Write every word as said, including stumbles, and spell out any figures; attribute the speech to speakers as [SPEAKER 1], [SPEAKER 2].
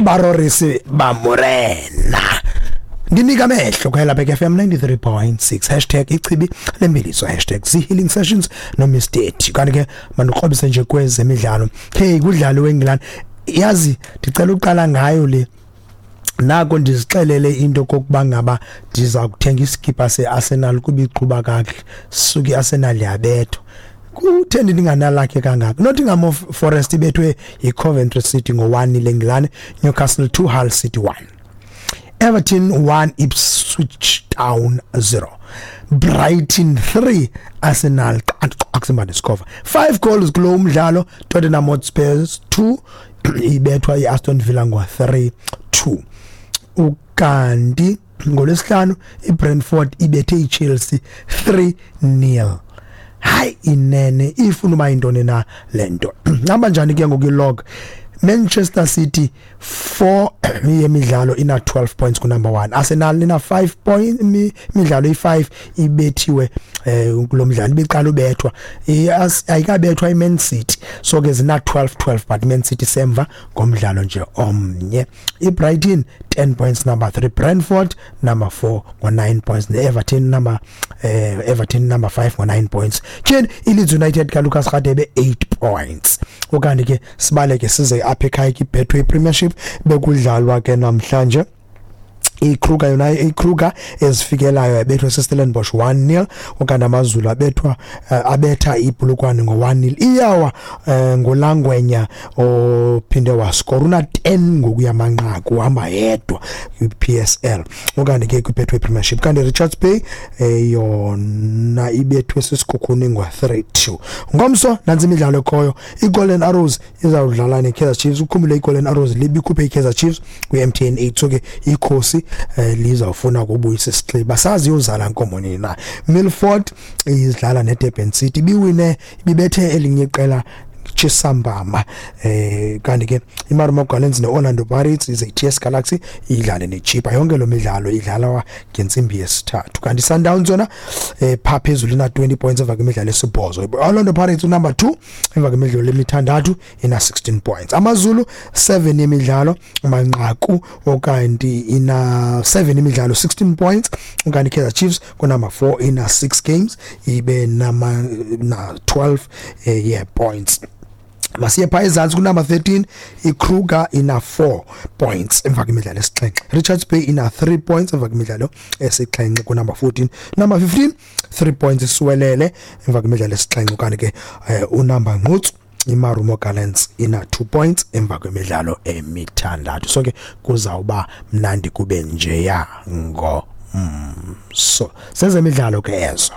[SPEAKER 1] Barorisi bamorena. Ndinika amehlo kwela Bek F M ninety-three point six, hashtag ichibi lembiliso, hashtag healing sessions no Miss T. Kanti ke mandikrobise nje kwezemidlalo. Hey, kudlalo weEngland, yazi ndicela uqala ngayo le. Nako ndizixelele into kokuba ngaba ndiza kuthenga iskipa seArsenal kuba iqhuba kakuhle, suke iArsenal yabethwa. Kutheni ndinganalakhe kangaka? Nottingham Forest ibethwe yiCoventry City ngo-one eNgilane, Newcastle two, Hull City one, Everton one, Ipswich Town zero, Brighton three, Arsenal akusimbane score five goals kulo umdlalo. Tottenham Hotspur two, ibethwa iAston Villa ngo three two. Ukanti ngolwesihlanu iBrentford ibethe iChelsea three nil. Hayi inene, ifuna uba intoni na lento? Hamba njani ke ngoku ilog? Manchester City four yemidlalo ina twelve points ku number one. Arsenal ina five point imidlalo ifive ibethiwe eh kulomdlalo ibiqala ubethwa, ayikabethwa iMan City, so ke zina twelve twelve, but Man City semva ngomdlalo nje omnye. iBrighton ten points, number three. Brentford number four ngo nine points, neEverton number eh Everton number five ngo nine points. Tyhini, iLeeds United ka Lucas Radebe eight points. Okanye ke sibaleke size apha ekhaya kwiBetway Premiership, bekudlalwa ke namhlanje. iKruger yona, iKruger ezifikelayo yabethwa seStellenbosch one nil, okanye AmaZulu abethwa uh, abetha iPolokwane ngo one nil. Iyawa uh, ngolangwenya ophinde wascore, una ten ngokuya manqaku, uhamba yedwa kwi-P S L okanye ke kwiBetway Premiership. Kanti Richards Bay eh, yona ibethwe sisiKhukhune ngo three two. Ngomso nantsi imidlalo ekhoyo: iGolden Arrows izawudlala neKaizer Chiefs. Ukhumbule iGolden Arrows libikhuphe iKaizer Chiefs kwi-M T N eight, so ke ikhosi eh, lizawufuna ukubuyisa isixhiba, sazi yozala nkomo nini na. Milford idlala neDurban City, ibiwine, ibibethe elinye iqela Chisambama. eh kanti ke iMarumo Gallants neOrlando Pirates ize i T S Galaxy idlale neChippa. Yonke lo midlalo idlalwa ngentsimbi yesithathu. Kanti Sundowns yona eh pha phezulu ina twenty points emva kwemidlalo esibhozo. Orlando Pirates number two emva kwemidlalo emithandathu ina sixteen points. AmaZulu seven yemidlalo manqaku, okanti ina seven imidlalo, sixteen points. Kanti Kaizer Chiefs ku number four ina six games, ibe nama na twelve eh, yeah points. Masiye pha ezantsi kunumber thirteen, iKruger ina four points emva kwemidlalo esixhenxe. Richards Bay ina three points emva kwemidlalo esixhenxe kunumber fourteen. Number fifteen, three points, isiwelele emva kwemidlalo esixhenxe. Kanti ke eh, unumber nqutsu iMarumo Gallants ina two points emva kwemidlalo emithandathu. So ke kuzawuba mnandi kube njeya ngo mm, so sezemidlalo ke ezo.